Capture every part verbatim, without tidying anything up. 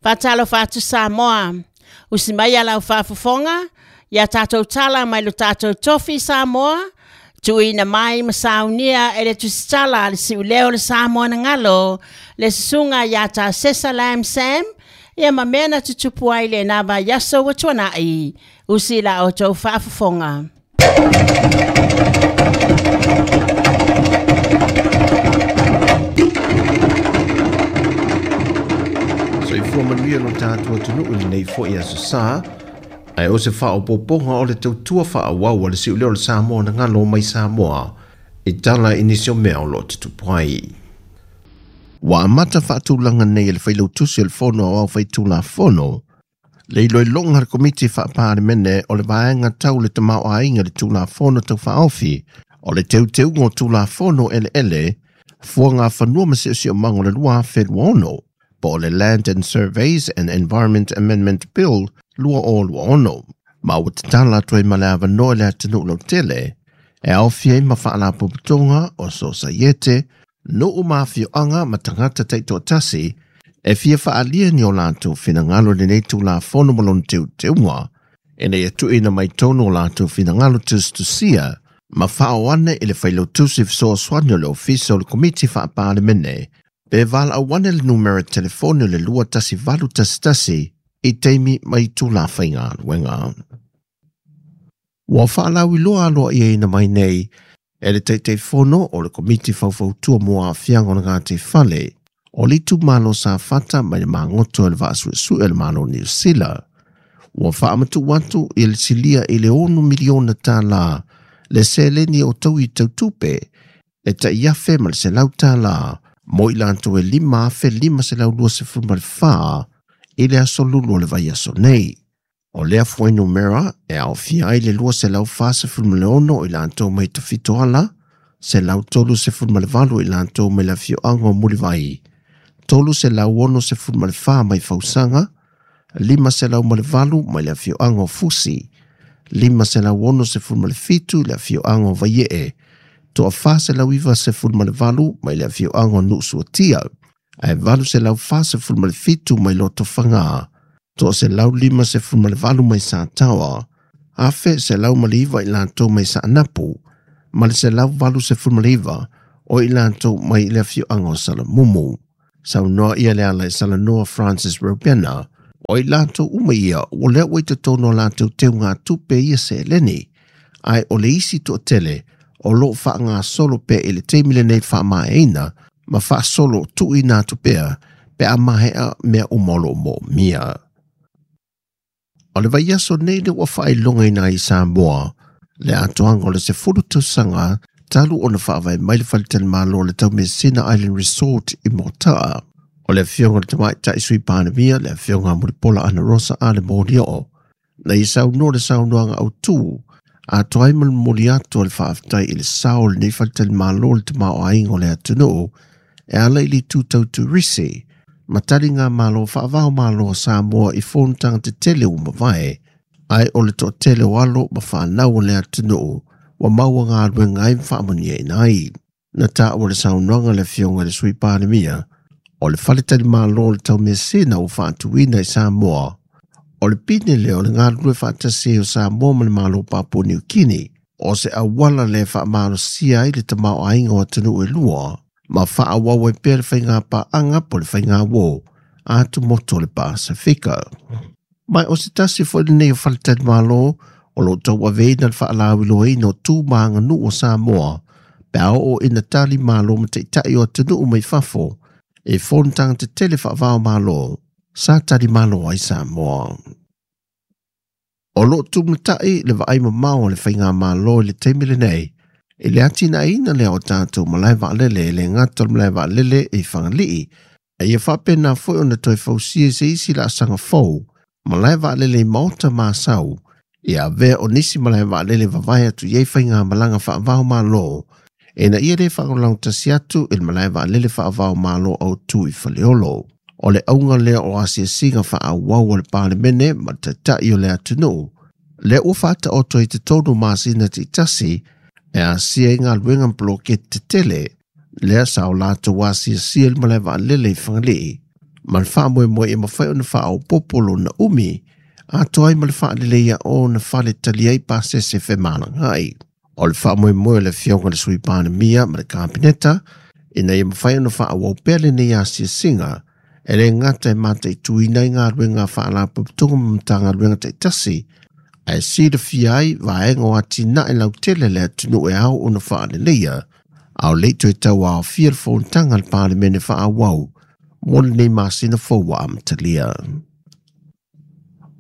Faatalofa atu Samoa. Usi mai a lau faafofoga, ia tatou tala mai lo tatou tofi Samoa, tuuina mai ma saunia e le tusitala le siuleo le Samoa na galo, le susuga ia ta Sesa Lam Sam, ia ma mea na tutupu ai le na vaiaso ua tuanai, usi la outou faafofoga. Soifua manuia lo tatou atunuu i lenei foi aso sa, ae o se faaopoopoga o le tautua faaauau a le siuleo o le Samoa na galo mai Samoa i tala i nisi o mea o loo tutupu ai. Ua amata faatulaga nei e le failautusi o le Fono Aoao Faitulafono le iloiloga a le Komiti Faa-Palemene o le vaega tau le tamaoaiga le Tulafono Tau Faaofi o le teuteuga o Tulafono Eleele Fuagafanua ma Siosiomaga o le lua afe lua ono po o le Land and Surveys and Environment Amendment Bill lua o lua ono. Ma ua tatala atu ai ma le avanoa i le atunuu lautele e aofia ai ma faalapotopotoga o sosaiete, nuu ma afioaga ma tagata taitoatasi e fia faaalia ni o latou finagalo i lenei Tulafono ma lona teuteuga ina ia tuuina mai tonu o latou finagalo tusitusia ma faaoane i le failautusi fesoasoani o le Ofisa o le Komiti Faa-Palemene pe valaau ane le numera telefoni o le lua tasi valu tasi tasi i taimi ma itula faigaluega. Ua faalauiloa aloaiaina mai nei e le Taitaifono o le Komiti Faufautua mo Aafiaga o le Gataifale o le itumalo Safata mai le magoto e le vaasuesue o le Malo Niu Sila. Ua faamatuu atu i le silia i le ono miliona tālā le seleni o tau i tautupe e tai afe ma le selau tālā mo i latou e lima afe lima selau lua sefulu ma le whā i le aso lulu o le vaiaso nei. O lea fuainumera e aofia ai le lua selau fa sefulu ma le ono i latou mai Tafitoala, selau tolu sefulu ma le valu i latou mai le afioaga o Mulivai, tolu selau ono sefulu ma le whā mai Fausaga, lima selau ma le valu mai le afioaga o Fusi, lima selau ono sefulu ma le fitu i le afioaga o Vaiee, toa fa selau iwa sefulu ma le valu mai le afioaga o Nuusuatia, ae valu selau fa sefulu ma le fitu mai Lotofaga, toa selau lima sefulu ma le valu mai Sataoa, afe selau ma le iwa i latou mai Saanapu, ma le selau valu sefulu ma le iwa o i latou mai le afioaga o Salamumu. Saunoa ia le ala i Salanoa Francis Robena, o i latou uma ia ua lea ua i totonu o latou teugatupe ia seleni, ae o le isi toatele o loo faagasolo pea i le taimi lenei faamaeaina ma faasolo tuuina atu pea pe a mahea mea uma o loo moomia. O le vaiaso nei le ua faailogaina ai Samoa le atoaga o le sefulu tausaga talu ona faavae mai le faletalimalo o le Taumeasina Island Resort i Mota'a. O le afioga o le Tamaitai Sui Palemia, le afioga a Mulipola Anarosa a le Molioo, na ia saunoa le saunoaga autū atoa ai ma le momoli atu o le faafetai i le sao o lenei faletalimalo o le tamaoaiga o le atunuu e ala i le itu tau turisi ma taliga malo faavao malo o Samoa i fonotaga tetele ua mavae, ae o le toatele o alo ma fanau o le atunuu ua maua galuega ai ma faamanuiaina ai. Na taua le saunoaga le afioga i le Sui Palemia o le faletalimalo o le Taumeasina ua faatuina i Samoa. O le pine lea o le galulue faatasi ai o Samoa ma le Malo Papua Niu Kini, o se auala le faamalosia ai le tamaoaiga o atunuu e lua, ma faaauau ai pea le faigapaaga po o le faigauō atumotu o le Pasifika. Mai o se tasi foi lenei o faletalimalo o loo tauaveina le faalauiloaina o tu ma aganuu o Samoa pe a oo ina tali malo ma taitai o atunuu mai fafo e fonotaga tetele faavao malo sa tali malo ai Samoa. O loo tumatai le vaai mamao o le faigamalo i le taimi lenei i le atinaeina lea o tatou malae vaalele e le gata o le malae vaalele i Fagalii, a ia faapena foi ona toe fausia i se isi laasaga fou malae vaalele i Maota ma Asau ia avea o nisi malae vaalele vavae atu i ai faigamalaga faavao malo ina ia lē faalagolagotasi atu i le malae vaalele faavao malo autū i Faleolo. O le auga lea o asiasiga faaauau a le Palemene ma le taitai o le atunuu lea ua faataoto i totonu masina taitasi e asia ai galuega ma poloketi tetele lea sa o latou asiasia i le malae vaalele i Fagalii Ma le faamoemoe e mafai ona faaopoopo lona umi atoa ai ma le faaleleia o ona fale tali ai pasese femalagaai. O le faamoemoe o le afioga i le Sui Palemia ma le Kapeneta ina ia mafai ona faaauau pea lenei asiasiga e le gata e mataituina ai galuega a faalapotopotoga ma Matagaluega taitasi ae silafia ai vaega o atinae lautele le atunuu e ao ona faaleleia a o le i toe tauaofia le fonotaga a le Palemene faaauau mo lenei masina fou ua amatalia.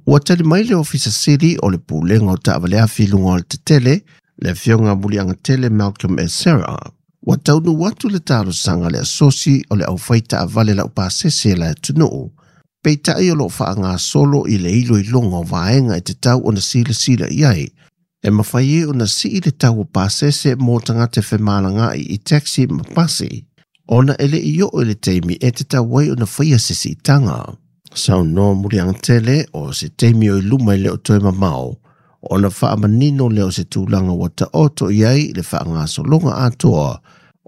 Ua tali mai le Ofisa Sili o le Pulega o Taavale Afi i luga o le tetele, le afioga Muliagatele Malcolm Esera. Ua taunuu atu le talosaga le asosi o le aufai taavale laupasese e le atunuu. Peitai o loo faagasolo i le iloiloga o vaega e tatau ona silasila i ai. E mafai ai ona sii le tau o pasese mo tagata femalagaai i taxi ma pasi, ona e le i oo i le taimi e tatau ai ona faia se siitaga. Saunoa Muliagatele o se taimi o i luma i le o toe mamao, ona faamanino lea o se tulaga ua taoto i ai le faagasologa atoa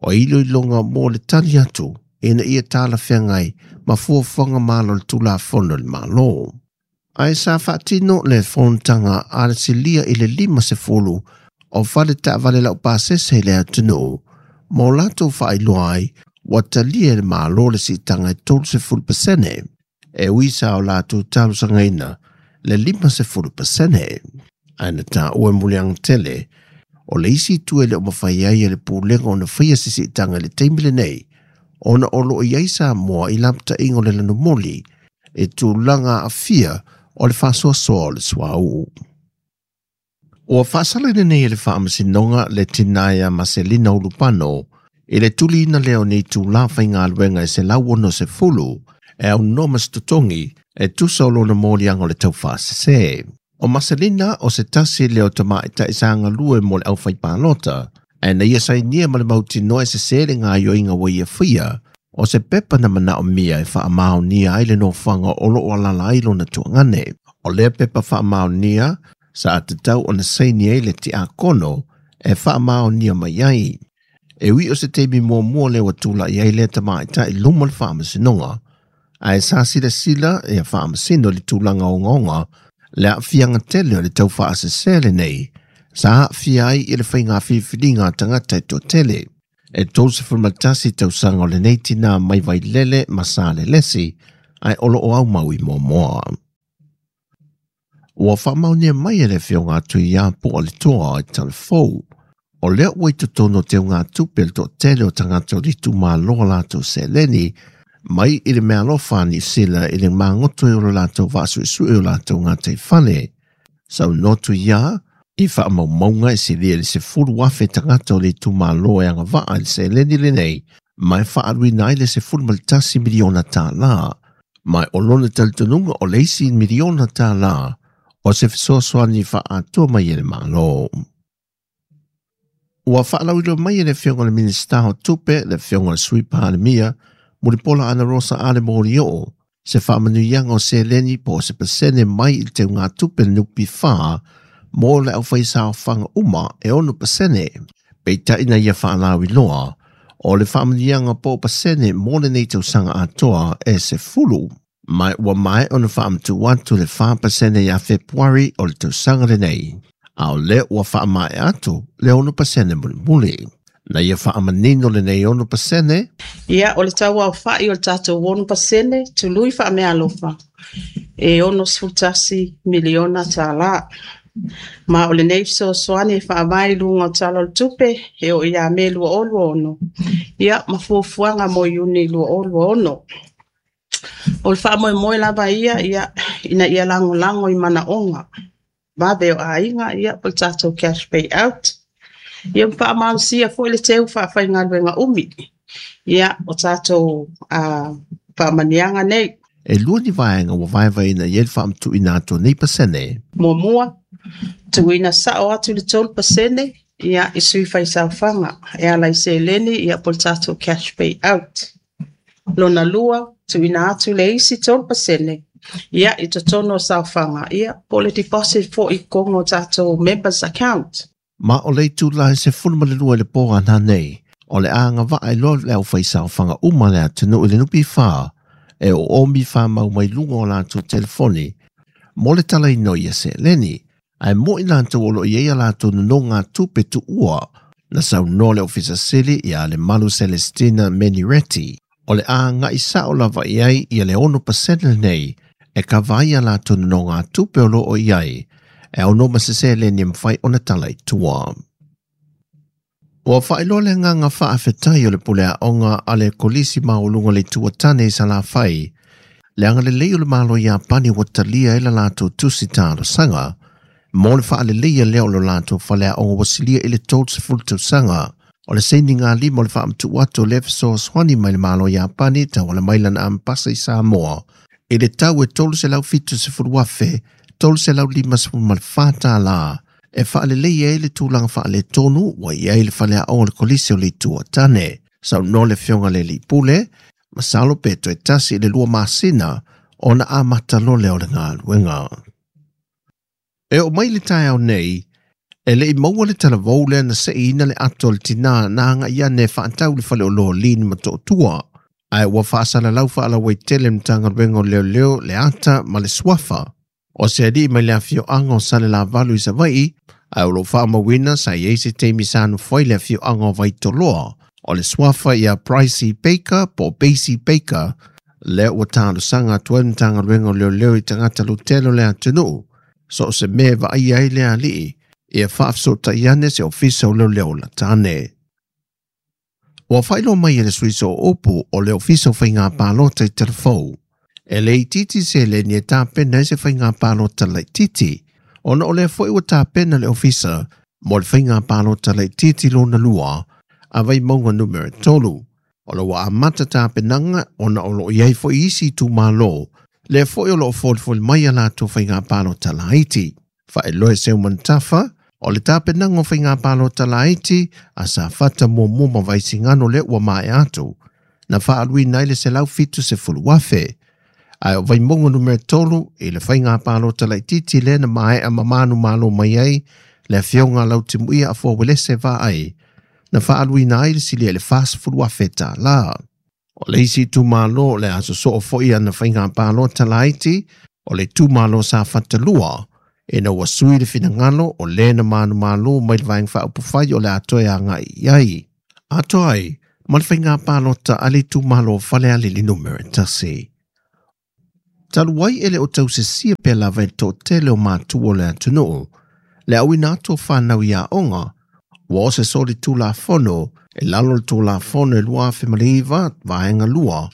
o iloiloga mo le tali atu ina ia talafeagai ma fuafuaga malo o le Tulafono a le Malo. Ae sa faatino le fonotaga a le silia i le lima sefulu o fale taavale laupasese i le atunuu mo latou faailoa ai ua talia e le Malo le siitaga e tolu sefulu pasene e ui sa o latou talosagaina le lima sefulu pasene. Ae na taua e Muliagatele o le isi itu e le o mafai ai e le pulega ona faia se siitaga i le taimi lenei ona o loo i ai Samoa i lapataiga o le lanumoli e tulaga aafia o le faasoasoa o le suauu. Ua faasala lenei e le Faamasinoga le tina ia Maselina Ulupano i le tuliina lea o nei itulā faigaluega e selau ono sefulu e aunoa ma se totogi e tusa o lona moliaga o le taufaasese. O Maselina o se tasi lea o tamaʻitaʻi sa galue mo le aufaipalota ae na ia sainia ma le mautinoa e sesē le gaoioiga ua ia faia o se pepa na manaomia e faamaonia ai le nofoaga o loo alaala ai lona tuagane. O lea pepa faamaonia sa tatau ona saini ai le tiakono e faamaonia mai ai. E ui o se taimi muamua lea ua tulaʻi ai lea tamaʻitaʻi luma o le Faamasinoga, ae sa silasila ia faamasino i le tulaga ogaoga le aafiaga tele o le taufaasesē lenei sa aafia ai i le faiga filifiliga a tagata e toatele. E tolusefulu ma tasi tausaga o lenei tinā mai Vailele ma Salelesi ae o loo aumau i Moamoa. Ua faamaonia mai e le afioga a Tuiapo o le toa i Talafou. O lea ua i totonu o teugatupe le toatele o tagata o le itumalo a latou seleni mai i le meaalofa a Niu Sila i le magoto o lo latou vaasuesue o latou gataifale. Saunoa Tuia i faamaumauga e silia i le sefulu afe tagata o le itumalo e agavaa i le seleni lenei ma e faaluina ai le sefulu ma le tasi miliona tālā. Ma o lona talitonuga o le isi miliona tālā o se fesoasoani faaatoa mai e le Malo. Ua faalauiloa mai e le afioga i le Minisita o Tupe, le afioga i le Sui Palemia, Mulipola Anarosa Ale Molioo, se faamanuiaga o seleni po o se pasene mai i le teugatupe le N P F mo le aufaisaofaga uma e ono pasene. Peitai na ia faalauiloa o le faamanuiaga po o pasene mo lenei tausaga atoa e sefulu. Ma ua maea ona faamatuu atu le fa pasene ia Fepuari o le tausaga lenei. A o lea ua faamaea atu le ono pasene mulimuli. Na ia faamanino lenei ono pasene. Ia, o le tauaofaʻi o le tatou ono pasene tului faameaalofa e ono sefulutasi miliona tālā. Ma o lenei fesoasoani e faavae i luga o Tala o le Tupe e oo ia Me lua o lua ono. Ia, ma fuafuaga mo Iuni lua o lua ono. O le faamoemoe lava ia, ia, ina ia lagolago i manaoga vave o aiga, ia, po o le tatou cash pay out. Ia, ma faamalosia foi le teu faafaigaluega umi. Ia, o tatou uh, faamanuiaga nei. E lua ni vaega ua vaevaeina i ai le faamatuuina atu o nei pasene. Muamua, tuuina sao atu le tolu pasene, ia, i sui faisaofaga e ala i seleni, ia, po o le tatou cash pay out. Lona lua, tuuina atu le isi tolu pasene, ia, i totonu o saofaga, ia, po o le deposit foi i totonu o tatou members account. Ma o le itulā e sefulu ma le lua i le po ana nei, o le agavaa ai loa le aufaisaofaga uma a le atunuu i le N P F E o omi whamau mai lunga o lātou telefoni mo le talaina o ia seleni ae mo'i latou o lo o i ai a latou nonogatupe tuua na saunoa le Ofisa Sili ia Lemalu Celestina Menireti o le aga'i sa'o lava i ai ia le ono pasene lenei e kava ai a latou nonogatupe o lo o i ai e aunoa ma se seleni e mafai ona tala i tua. Ua faailoa le agaga faafetai o le pule aoga a le Kolisi Maualuga o le Itu o Tane i Salafai le agalelei o le Malo o Iapani ua talia ai la latou tusi talosaga mo le faaleleia lea o lo latou faleaoga ua silia i le tolusefulu tausaga o le sainigalima o le faamatu'u atu o lea fesoasoani mai le Malo o Iapani tauala mai lana amepasa i Samoa i le tau e tolu selau fitu sefulu afe tolu selau lima sefulu ma le fa tālā e faaleleia ai le tulaga faaletonu ua i ai le faleaoga o le Kolisi o le Itu o Tane. Saunoa le Afioga le Alii Pule, masalo pe toe tasi i le lua masina ona amata loa lea o le galuega. E oo mai le taeao nei, e le'i maua le talavou lea na se'iina le ato a le tinā na aga'i ane e fa'atau i le fale oloa o Lin ma To'otua, ae ua fa'asalalau fa'alauaitele le Matagaluega o Leoleo le ata ma le suafa o se ali'i mai le afio'aga o Salelavalu i Savai'i, ae o lo'o fa'amauina sa i ai se taimi sa nofo ai le afio'aga o Vaitoloa o le suafa ia Pricey Baker po o Basie Baker lea ua talosaga atu ai le Matagaluega o Leoleo i tagata lautele o le atunu'u so o se mea e vaaia ai le ali'i ia fa'afesoota'i ane se ofisa o leoleo lata ane. Ua faailoa mai e le Sui Sooupu o le Ofisa o Faiga Palota i Talafou e le itiiti seleni e tapena ai se faiga palota laitiiti ona o lea foi ua tapena le ofisa mo le faiga palota laitiiti lona lua a Vaimauga numera tolu. O lo o ua amata tapenaga ona o lo o i ai foi isi itumalo lea foi o lo o folifoli mai a latou faiga palota laiti. Faailoa e Seuman Tafa o le tapenaga o faiga palota laiti a Safata muamua ma Vaisigano lea ua maea atu na faaluina ai le selau fitu sefulu afe. Ae o Vaimauga numera tolu i le faiga palota laitiiti lea na maea ma manumalo mai ai le Afioga a Lautimuia Afoa Uelese Vaai na faaluina ai le silia i le fasefulu afe tālā. O le isi itumalo o le a sosoo foi ana faiga palota laiti o le itumalo Safata lua ina ua sui le finagalo o lē na manumalo mai le Vaega Faaupufai o le a toe aga'i i ai. Atoa ai ma le faiga palota a le itumalo o Falealili numera tasi. Talu ai e le o tausisia pea lava e le to'atele o matua o le atunu'u le auina atu o fanau i aoga ua o se solitulafono e lalo o le Tulafono e lua afe ma le iva vaega lua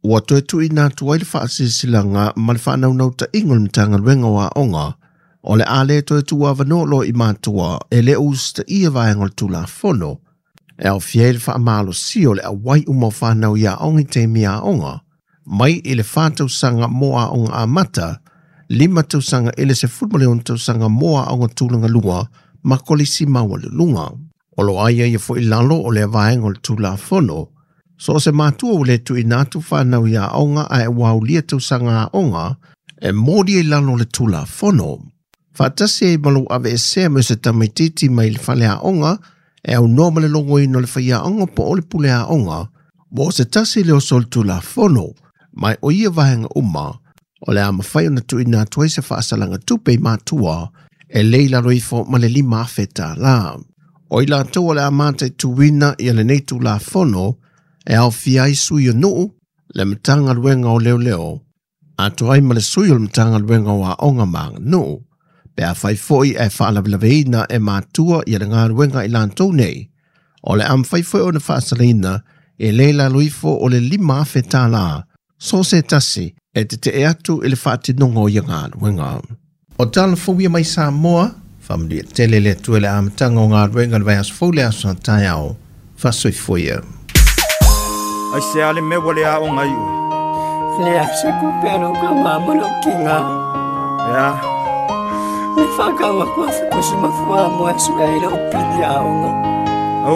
ua toe tuuina atu ai le fa'asilasilaga ma le fa'anaunautā'iga o le Matagaluega o Aoga o le a lē toe tuuavanoa loa i matua e lē o usita'ia vaega o le Tulafono e aofia ai le fa'amalosia o le auai uma o fanau i aoga i taimi aoga mai i le fa tausaga mo aoga amata, lima tausaga i le sefulu ma le ono tausaga mo aoga tulaga lua ma kolisi maualuluga. O lo o aiaia foi i lalo o lea vaega o le Tulafono so o se matua ua lē tuuina atu fanau i aoga ae ua aulia tausaga aoga e moli ai lalo o le Tulafono. Faatasi ai ma lou aveesea mai o se tamaitiiti mai le fale aoga e aunoa ma le logoina o le faiaoga po o le pule aoga ua o se tasi lea o solitulafono mai o ia vaega uma o le a mafai ona tuuina atu ai se faasalaga tupe i matua e lē i lalo ifo ma le lima afe tālā. O i latou o le a mataituina ia lenei Tulafono e aofia ai sui o nu'u, le Matagaluega o Leoleo, atoa ai ma le sui o le Matagaluega o Aoga ma Aganuu, pe afai foi ae faalavelaveina e matua ia le galuega a i latou nei, o le a mafai foi ona faasalaina e lē i lalo ifo o le lima afe tālā so o se tasi e tete'e atu i le faatinoga o ia galuega. O tala fou ia mai Samoa, faamanuia tele le Atua i le amataga o galuega i le vaiaso fou le aso a taeao. Faasoifua ia. Aisea le mea ua le aoga ai oe? Leai se tupe a lou tama ma lou tiga. E a? Le whakau aku a whitusi mafua mo e sue ai lau pili aoga.